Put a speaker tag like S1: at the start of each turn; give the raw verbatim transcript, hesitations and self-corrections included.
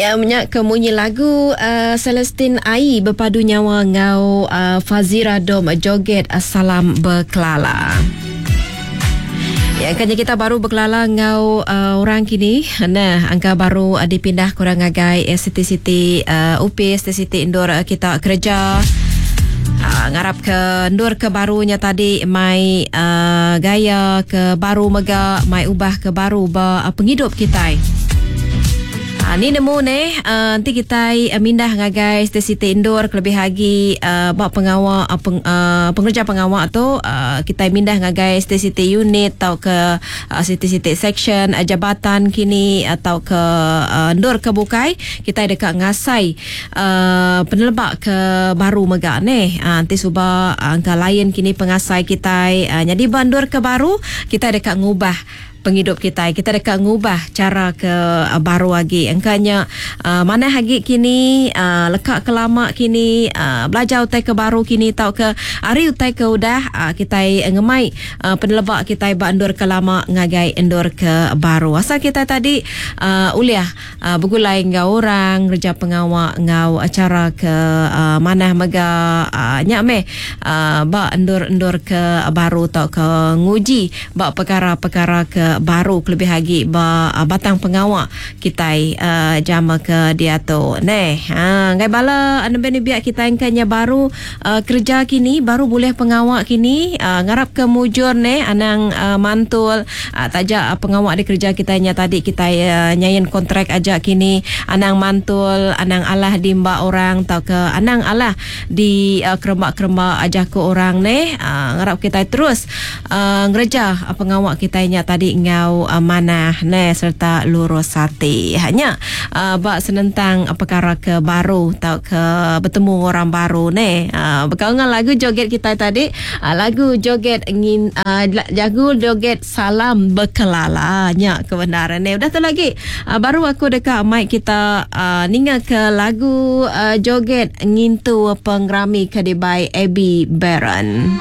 S1: Ya nya ke munyi lagu uh, Celestine Ai berpadu nyawa ngau uh, Fazira Dom joget Salam Bekelala. Ya, kan kita baru berkelala ngau uh, orang kini. Nah, angka baru uh, dipindah kurang ngagai uh, city-city uh, U P, city-city indoor uh, kita kerja. Uh, ngarap ke ndur ke barunya tadi mai uh, gaya ke baru mega mai ubah ke baru ba uh, penghidup kita. Ha, ni nemu ni uh, nanti kita uh, mindah ngagai city indoor kelebih lagi uh, bak pengawak uh, peng, uh, pengerja pengawak tu uh, kita mindah ngagai city unit atau ke uh, city section uh, jabatan kini atau ke uh, ndur ke bukai kita dekat ngasai uh, penelebak ke baru mega ni uh, nanti suba uh, angka lain kini pengasai kita uh, jadi bandur ke baru kita dekat ngubah penghidup kita. Kita dekat ngubah cara ke uh, baru lagi. Engkanya uh, mana lagi kini uh, lekak ke lama kini uh, belajar utai ke baru kini tau ke hari utai ke udah uh, kita ngemai uh, penelebak kita ba endur ke lama ngagai endur ke baru. Asal kita tadi uh, uliah uh, bergulai ngau orang kerja pengawak ngau acara ke uh, mana mega uh, nyak meh uh, ba endur-endur ke baru tau ke nguji ba perkara-perkara ke baru kelebih lagi ba batang pengawak kita uh, jama ke dia tu neh. Ha ngai bala anu biak kita engkanya baru uh, kerja kini baru boleh pengawak kini uh, ngarap ke mujur neh anang uh, mantul uh, tajak uh, pengawak di kerja kita nya tadi kita uh, nyain kontrak aja kini anang mantul anang alah di mbak orang atau ke anang alah di uh, keremak-keremak aja ke orang neh. Uh, ngarap kita terus uh, ngereja uh, pengawak kita nya tadi ngau uh, manah ne serta lurus hati. Hanya uh, bak senentang uh, perkara ke baru atau ke bertemu orang baru ne. Uh, berkawan lagu joget kita tadi, uh, lagu joget ingin uh, lagu joget Salam Bekelala nya kebenaran ne. Udah tu lagi uh, baru aku dekat mic kita uh, ninga ke lagu uh, joget ngintu pengrami ke dibai Abby Baron.